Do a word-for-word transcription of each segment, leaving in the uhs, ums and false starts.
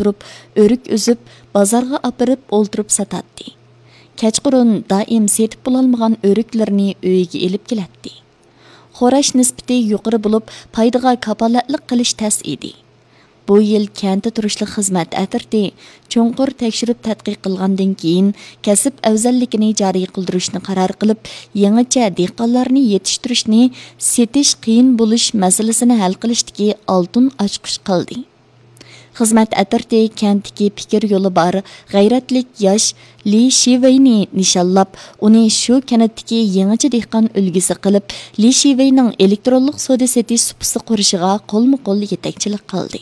تۇرۇپ، ئۆرۈك ئۈزۈپ، بازارغا ئاپىرىپ ئولتۇرۇپ ساتاتتى. كەچقۇرۇن دائىم سېتىپ بولالمىغان ئۆرۈكلىرىنى ئۆيىگە ئېلىپ كېلەتتى. خوراش نىسبىتى يۇقىرى بولۇپ، پايدىغا كاپالەتلىك قىلىش تەس ئىدى. بۇ يىل كەنتتە تۇرۇشلۇق خىزمەت ئەترىتى چوڭقۇر تەكشۈرۈپ تەتقىق قىلغاندىن كېيىن، كەسىپ ئەۋزەللىكىنى جارى قىلدۇرۇشنى قارار قىلىپ، يېڭىچە دېھقانلارنى يېتىشتۈرۈشنى، سېتىش قىيىن بولۇش مەسىلىسىنى ھەل قىلىشتىكى ئالتۇن ئاچقۇچ قىلدى. خىزمەت ئەترىتى كەنتتىكى پىكىر يولى بار، غەيرەتلىك ياش لى شىۋېينى نىشانلاپ، ئۇنى شۇ كەنتتىكى يېڭىچە دېھقان ئۈلگىسى قىلىپ، لى شىۋېينىڭ ئېلېكترونلۇق سودا سېتىش سۇپىسى قۇرۇشىغا قولمۇ قول يېتەكچىلىك قىلدى.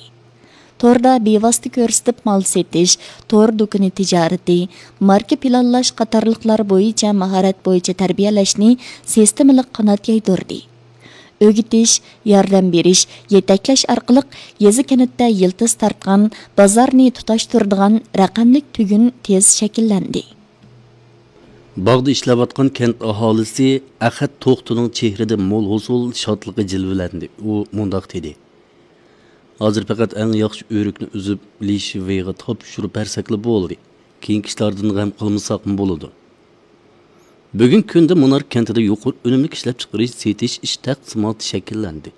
توردا بىۋاسىتە كۆرسىتىپ مال سېتىش، تور دۇكىنى تىجارىتى، ماركا پىلانلاش قاتارلىقلار بويىچە ماھارەت بويىچە تەربىيەلەشنى سىستېمىلىق قانات يايدۇردى. ئۆگىتىش، ياردەم بېرىش، يېتەكلەش ئارقىلىق يېزا كەنتتە يىلتىز تارتقان، بازارنى تۇتاشتۇرىدىغان رەقەملىك تۈگۈن تېز شەكىللەندى. باغدا ئىشلەۋاتقان كەنت ئاھالىسى ئەخەت توختىنىڭ چېھرىدە مول ھوسۇل شادلىقى جىلۋىلەندى. ئۇ مۇنداق دېدى: «ھازىر پەقەت ئەڭ ياخشى ئۆرۈكنى ئۈزۈپ، لى شىۋېيغا تاپشۇرۇپ بەرسەكلا بولدى. كېيىنكى ئىشلاردىن غەم قىلمىساقمۇ بولىدۇ.» بۈگۈنكى كۈندە مۇنار كەنتىدە يۇقىرى ئۈنۈملۈك ئىشلەپچىقىرىش سېتىش ئىش تەقسىماتى شەكىللەندى.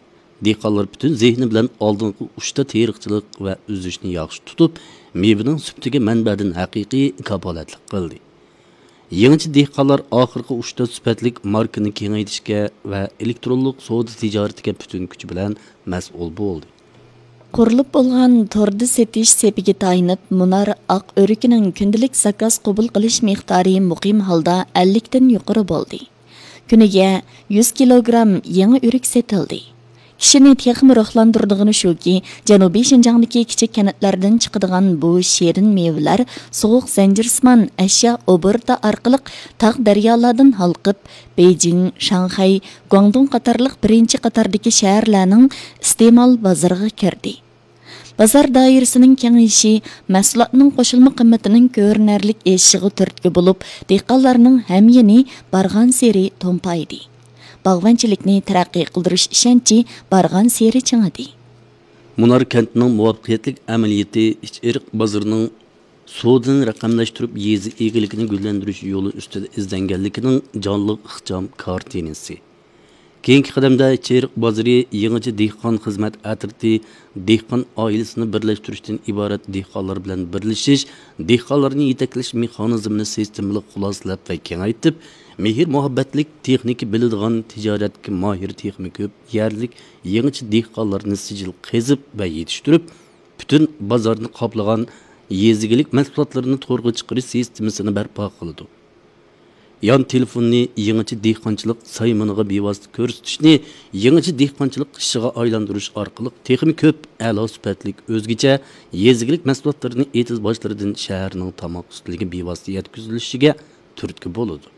دېھقانلار پۈتۈن زېھنى بىلەن ئالدىنقى ئۇچتا تېرىقچىلىق ۋە ئۈزۈشنى ياخشى تۇتۇپ، مېۋىنىڭ سۈپىتىگە مەنبەدىن ھەقىقىي كاپالەتلىك قىلدى. يېڭىچە دېھقانلار ئاخىرقى ئۇچتا سۈپەتلىك ماركىنى كېڭەيتىشكە ۋە ئېلېكترونلۇق سودا تىجارىتىگە پۈتۈن كۈچى بىلەن مەسئۇل بولدى. قۇرۇلۇپ بولغان توردا سېتىش سېپىگە تايىنىپ، مۇنار ئاق ئۆرۈكىنىڭ كۈندىلىك زاكاز قوبۇل قىلىش مىقدارى مۇقىم ھالدا ئەللىكتىن يۇقىرى بولدى. كۈنىگە يۈز كىلوگرام يېڭى ئۆرۈك سېتىلدى. كىشىنى تېخىمۇ روھلاندۇرىدىغىنى شۇكى، جەنۇبىي شىنجاڭدىكى كىچىك كەنتلەردىن چىقىدىغان بۇ شېرىن مېۋىلەر سوغۇق زەنجىرسىمان ئەشيا ئوبوروتى ئارقىلىق تاغ دەريالاردىن ھالقىپ، بېيجىڭ، شاڭخەي، گۇاڭدۇڭ قاتارلىق بىرىنچى قاتاردىكى شەھەرلەرنىڭ ئىستېمال بازىرىغا كىردى. بازار دائىرىسىنىڭ كېڭىيىشى مەھسۇلاتنىڭ قوشۇلما قىممىتىنىڭ كۆرۈنەرلىك ئېشىشىغا تۈرتكە بولۇپ، دېھقانلارنىڭ ھەميانى بارغانسېرى تومپايدى. باغۋەنچىلىكنى تەرەققىي قىلدۇرۇش ئىشەنچى بارغانسېرى چىڭىدى. مۇنار كەنتىنىڭ مۇۋەپپەقىيەتلىك ئەمەلىيىتى ئىچ ئېرىق بازىرىنىڭ سودىنى رەقەملەشتۈرۈپ، يېزا ئىگىلىكىنى گۈللەندۈرۈش يولى ئۈستىدە ئىزدەنگەنلىكىنىڭ جانلىق ئىخچام كارتىنىسى. كېيىنكى قەدەمدە چېرىق بازىرى يېڭىچە دېھقان خىزمەت ئەترىتى دېھقان ئائىلىسىنى بىرلەشتۈرۈشتىن ئىبارەت دېھقانلار بىلەن بىرلىشىش، دېھقانلارنى يېتەكلەش مېخانىزمىنى سىستېمىلىق خۇلاسىلەپ ۋە كېڭەيتىپ، مېھىر-مۇھەببەتلىك، تېخنىكا بىلىدىغان، تىجارەتكە ماھىر تېخىمۇ كۆپ يەرلىك يېڭىچە دېھقانلارنى سىجىل قېزىپ ۋە يېتىشتۈرۈپ، پۈتۈن بازارنى قاپلىغان يېزا ئىگىلىك مەھسۇلاتلىرىنى تورغا چىقىرىش سىستېمىسىنى بەرپا قىلىدۇ. يان تېلېفوننى يېڭىچە دېھقانچىلىق سايمىنىغا بىۋاسىتە كۆرسىتىشنى، يېڭىچە دېھقانچىلىق ئىشىغا ئايلاندۇرۇش ئارقىلىق تېخىمۇ كۆپ ئەلا سۈپەتلىك ئۆزگىچە يېزا ئىگىلىك مەھسۇلاتلىرىنى ئېتىز باشلىرىدىن شەھەرنىڭ تاماق ئۈستىلىگە بىۋاسىتە يەتكۈزۈلۈشىگە تۈرتكە بولىدۇ.